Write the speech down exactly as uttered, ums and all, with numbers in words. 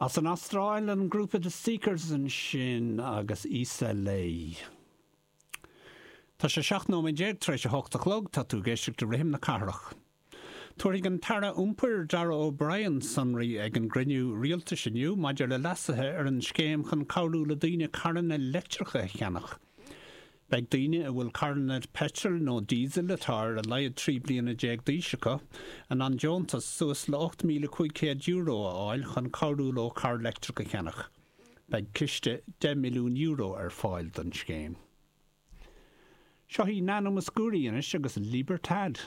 As an Astráil an grúpa The Seekers ansin agus Isa Lei. Tá sé seacht nóiméad déag tar éis a hocht a chlog tá tú ag éisteacht le Rithim na Cathrach. Tabharfaidh an tAire Iompair Darragh O'Brien sonraí ag an gcruinniú rialtais inniu maidir le leasuithe ar an scéim chun cabhrú le daoine carranna leictreacha a cheannach. Beidh daoine a bhfuil carranna peitril nó díosail atá ar a laghad trí bliana déag d'aois acu in ann deontas suas le ocht míle cúig chéad euro a fháil chun cabhrú leo carr leictreach a cheannach. Beidh ciste deich milliún euro ar fáil don scéim. Seo í Nana Mouskouri anois agus Libertad.